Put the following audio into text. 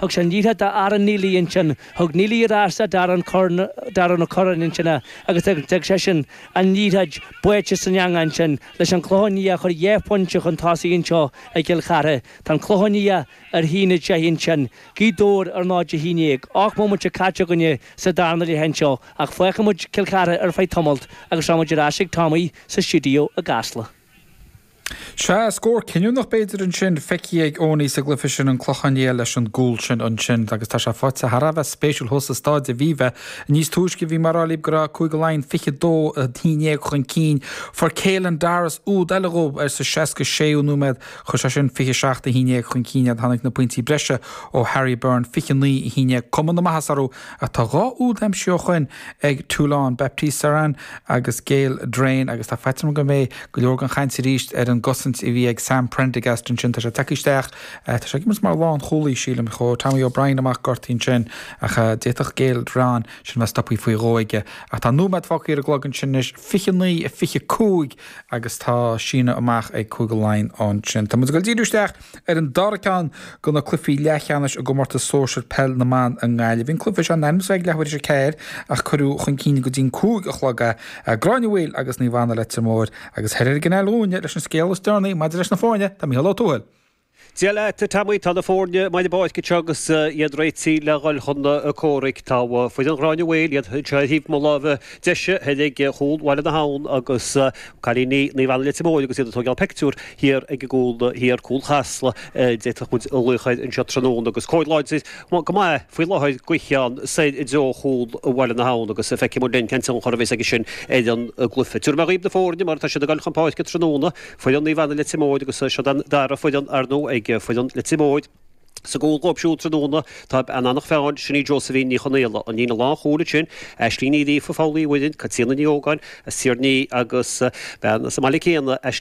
Thug sé an liathróid d'Aaron Neely ansin. Thug Neely ar ais do Darren Curran, Darren O'Curran ansin é agus d'fhág seisean an liathróid báite san eangach ansin leis an Clochán Liath a chur dhá phointe chun tosaigh anseo i gCill Chartha. Tá an Clochán Liath ar 1-10 ansin. Gaoth Dobhair ar 0-11. 8 mbomaite caite againne sa darna leath anseo ach fágfaidh muid Cill Chartha ar feadh tamalt agus rachaidh muid ar ais ag Tommy sa stiúideo i gCasla. Sea, scór cinniúnach b'fhéidir ansin feicthe ag Eoiní sa gcluiche sin, an Clochán Liath leis an gcúl sin ansin agus tá sé faighte thar a bheith spéisiúil thuas i Staid Aviva. Níos túisce bhí mé ag rá libh go raibh Cúige Laighean 22 11 chun cinn. Fuair Caelan Doris úd eile dhóibh ar sa 66ú nóiméad. Chuir sé sin 27 11 chun cinn iad. Tháinig na pointí breise ó Harry Byrne, 29 11. Cuma na maitheasa orthu ach tá dhá úd aimsithe ó shoin ag Toulon, Baptiste Serin agus Gael Drouin agus tá faitíos orm go mbeidh go leor den chaint arís ar an gcosaint a bhí ag Sam Prendergast ansin. Tá sé tagtha isteach, tá sé ag imirt mar lánchúlaí, sílim. Chuaigh Tommy O'Brien amach gortaithe ansin ach d'fhéadfadh Gael Drouin sin bheith stoptha faoi dhó aige. Ach tá nóiméad fágtha ar an gclog ansin anois, 29 25 agus tá síneadh amach ag Cúige Laighean ansin. Tá muid ag dul díriú isteach Ar an dara ceann de na cluichí leathcheannais i gcomórtas sóisir peil na mban i nGaillimh, bhí an cluiche seo in ainm is a bheith ag leathuair tar éis a ceathair ach cuireadh chun cinn go dtí an 5 a chlog é. Gráinne Mhaol agus Naomh Anna Leitir Móir agus thoir ar an gCanáil dhúinne leis an scéal is deireanaí maidir leis na foirne, tá Mícheál Ó Tuathail. Dia leat, a Tommy. Tá na foirne amuigh ar an bpáirc anseo agus iad réitithe le dhul chun comhraic. Tá foireann Ghráinne Mhaol, iad anseo ar thaobh mo láimhe deise, thoir ag chúl Bhaile na hAbhann agus Cailíní Naomh Anna Leitir Móir agus iad ag tógáil pictiúr thiar ag an gcúl thiar, cúl Chasla, a d'fhéadfadh muid a ghlaoch air anseo tráthnóna agus cóir láidir go maith faoi láthair gaoithe ann soir i dtreo chúl Bhaile na hAbhann agus feicfidh muid linn cén tionchar a bheas aige sin ar an gcluiche. Tabharfaidh mé dhaoibh na foirne mar atá siad ag dul chun páirce tráthnóna, foireann Naomh Anna Leitir Móir agus siod an dara foireann ar ndóigh ag foireann Leitir Móir. Sa gcúl dhóibh siúd tráthnóna tá bean Eanach Mheáin, sin í Josephine Ní Chonaola. An líne lánchúil ansin, Aisling Ní Ghríofa, Foghlaí Mhuirinn, Caitríona Ní Ógáin as Tír an Fhia agus bean as an mbaile céanna, Aisling.